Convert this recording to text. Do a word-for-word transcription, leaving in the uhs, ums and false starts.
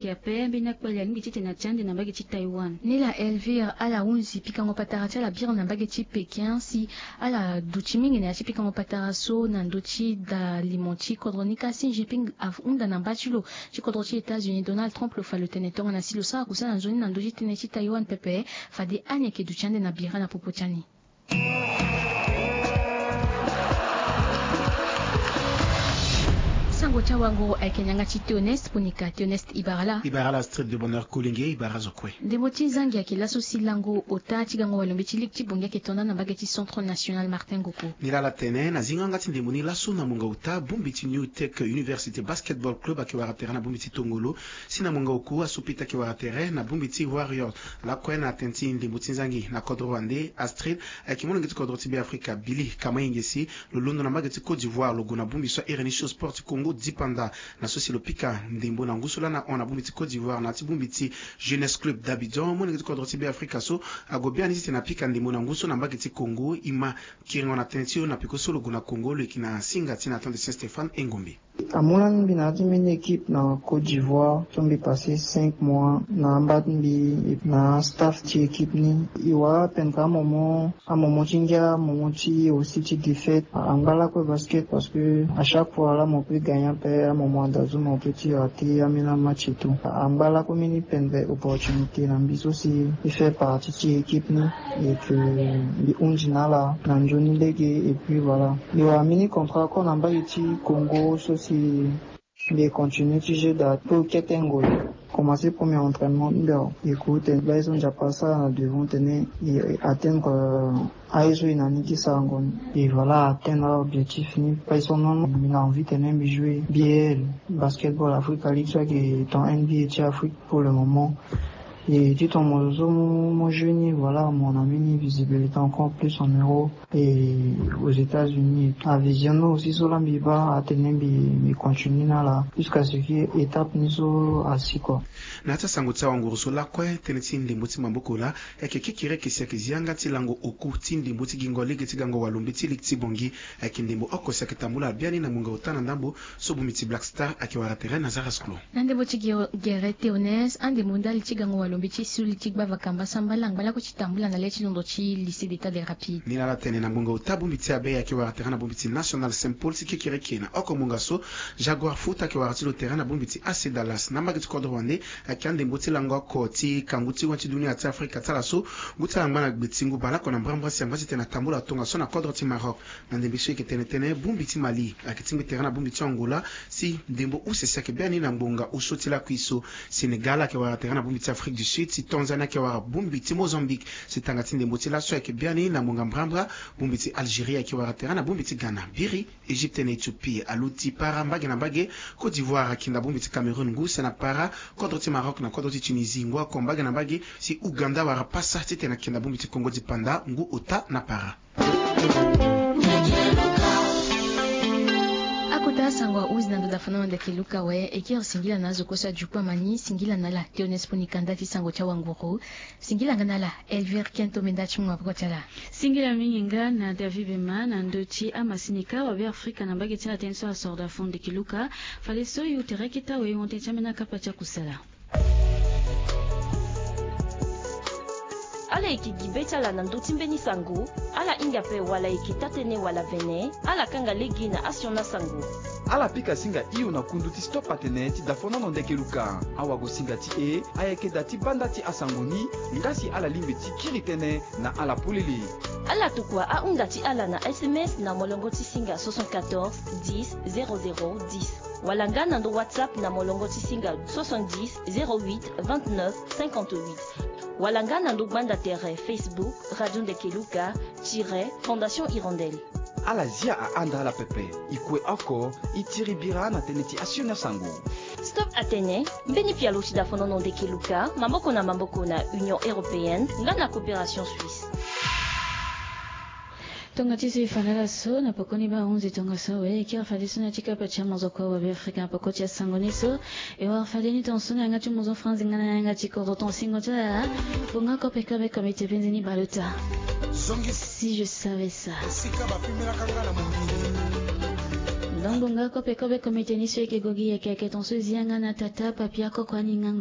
Ke ape mbeni akpale alingbi titene atia ande na mbage ti Taiwan. Nila Elvire ala hunzi pikango patara ti ala biri na mbage ti Pékin si ala duti mingi na ya ti pikango patara so na ndö ti da limo ti kodro ni ka si Xi Jinping ahunda na mba ti lo ti kodro ti États-Unis Donald Trump lo fa lo tene tongana si lo sara kusala na nzoni na ndö ti tënë ti Taiwan pepe fade ani ayeke duti ande na bira na popo ti ani. Sango ti awanguru ayeke na yanga ti Théoneste Ponika. Théoneste, i bara laa? I bara laa Astrid de Bonheur Kolenge, i bara zo kue. Ndembo ti zangi ayeke laso si lango ota ti gango walombe ti ligue ti Bangui ayeke to nda na mbage ti Centre National Martin Ngoko. Nilaa ala tene na zingo yanga ti ndembo ni laso na mungo ota bongbi ti New Tech Université Basketball Club ayeke wara tere na bongbi ti Tongolo, si na mungo oku aso pita ayeke wara tere na bongbi ti Warriors. Lakue na tene ti ndembo ti nzangi na kodro wande Astrid ayeke molenge ti kodro ti Beafrika Billy Kamainge si lo londo na mbage ti Côte d'Ivoire lo gue na bongbi so ahiri ni Show Sport ti Congo dipanda na so si lo pika ndembo na ngu so laa na hon na bongbi ti Côte d'Ivoire na ya ti bongbi ti Jeunesse Club d'Abidjan. Molenge ti kodro ti Beafrika so ague biani titene apika ndembo na ngu so na mbage ti Congo. E ma kiringo na tënë ti lo na peko so lo gue na Congo lo yeke na singa ti Nathan de Saint Stéphane Engombe. Amu lani mbi na ya ti mbeni équipe na Côte d'Ivoire so mbi passé cinq mois na amba ti mbi na staff ti équipe ni. E wara apeine ka amomo amomo ti ngia amomo ti aussi ti défaite. Angba lakue basket parce que à chaque fois là mo peut gagner ape amomo anda zo mo peut ti raté ambeni amatch et tout. Angba lakue mbeni pendere opportunité na mbi so si e fait partie ti équipe ni. Et que mbi hunzi na ala na nzoni lege et puis voilà. Mbi wara mbeni contrat encore na mbage ti Congo so si mbi continue ti jeu da to kete ngoi. Commencé premier entraînement ti mbi awe. E ku tene baa ye so Nzapa asara na devant tene e atteindre aye so e na ni ti sarango ni. E voilà atteindre aobjectif ni. Baa ye so non mbi na envie tene mbi jouer B A L, Basketball Africa League so ayeke ton N B A ti Afrique pour le moment. E ti ton mo zo so mo jouer ni voilà mo na mbeni visibilité encore plus en Europe et aux États-Unis. Avision no aussi so laa mbi baa atene mbi mbi continue na ala jusqu'à ce que étape ni so asi quoi. Na ya ti asango ti awanguru so lakue tënë ti ndembo ti maboko laa ayeke kekereke si ayeke zi yanga ti lango oku ti ndembo ti gingo lege ti gango walombe ti ligue ti Bangui. Ayeke ndembo oko si ayeke tambula biani na ngonga ota na ndambo so bongbi ti Black Star ayeke wara tere na Zaras Klo. Na ndembo ti gere Théoneste andembo ndali ti gango walombe ti suli ti gbava kamba sambala angba lakue ti tambula na le ti londo ti Lycée d'État des Rapides. Nilaa ala tene na ngonga ota bongbi ti Abeille ayeke wara tere na bongbi ti National Saint Paul si kekereke na oko ngonga so Jaguar Foot ayeke wara ti lo tere na bongbi ti A C Dallas. Na mbage ti kodro wande ayeke andembo ti lango oko ti kangu ti wani ti dunia ti Afrika ti ala so ngu ti ala angba na gbe ti ngu baleoko na mbrambra si angba titene atambula tongaso na kodro ti Maroc. Na ndembe so e yeke tene tënë bongbi ti Mali ayeke tingbi tere na bongbi ti Angola si ndembo use si ayeke biani na ngonga osio ti lakui so. Sénégal ayeke wara tere na bongbi ti Afrique du Sud si Tanzanie ayeke wara bongbi ti Mozambique. Si tanga ti ndembo ti laso ayeke biani na ngonga mbrambra bongbi ti Algérie ayeke wara tere na bongbi ti Ghana. Biri Égypte na Éthiopie aluti para mbage na mbage. Côte d'Ivoire akinda bongbi ti Cameroun ngu si na para kodro ti Maroc na kodro ti Tunisie ngu oko mbage na mbage. Si Ouganda wara pasa titene akinda bongbi ti Congo dipanda ngu ota na para. Akota sango ahuzi na ndo dafono na ndeke luka awe e kiri singila na azo kue so adukpama ni singila na ala Théoneste Ponika nda ti sango ti awanguru. Singila nga na ala Elvire Kento menda ti mu maboko ti ala. Singila mingi nga na David Bema na ndö ti amasini ka wabeafrika na mbage ti ala tënë so asoro dafono ndeke luka. Fade so e ute reke ti awe e honte ti ambeni akapa ti akusala. Ala yeke gi be ti ala na ndö ti mbeni sango. Ala hinga ape wala e yeke taa-tënë wala vene. Ala kanga lege na asioni asango. Ala pika singa hio na kundu ti Stop Atene ti dafonono ndeke luka. Awagosinga ti e ayeke da ti banda ti asango ni. Nga si ala lingbi ti kiri tënë na ala polele. Ala tokua ahunda ti ala na S M S na molongo ti singa soixante-quatorze dix zéro zéro dix. Wala nga na ndo WhatsApp na molongo ti singa soixante-dix zéro huit vingt-neuf cinquante-huit. Wala nga na ndo gbanda tere Facebook Radio Ndeke Luka tiret Fondation Hirondelle. Ala zia ahanda ala pepe. E kue oko e tiri bira na tënë ti asioni asango. Stop Atene, mbeni pialo ti dafonono ndeke luka maboko na maboko na Union Européenne nga na Coopération Suisse. Tonga ti so e fa na ala so na pokoni baa hunzi tongaso awe e kiri fadeso na ya ti kapa ti amozoko awabeafrika na poko ti asango ni so. E wara fade ni tongaso na yanga ti mozo franzi nga na yanga ti kodro tongasingo ti ala. Bonga kope kobe komite penze ni bale ota. Si je savais ça. Esika bapimelaka nga na mokili. Ndongo nga kope kobe komite ni so eke gogi yeke yeke ton so zianga na tata papia koko ani nga.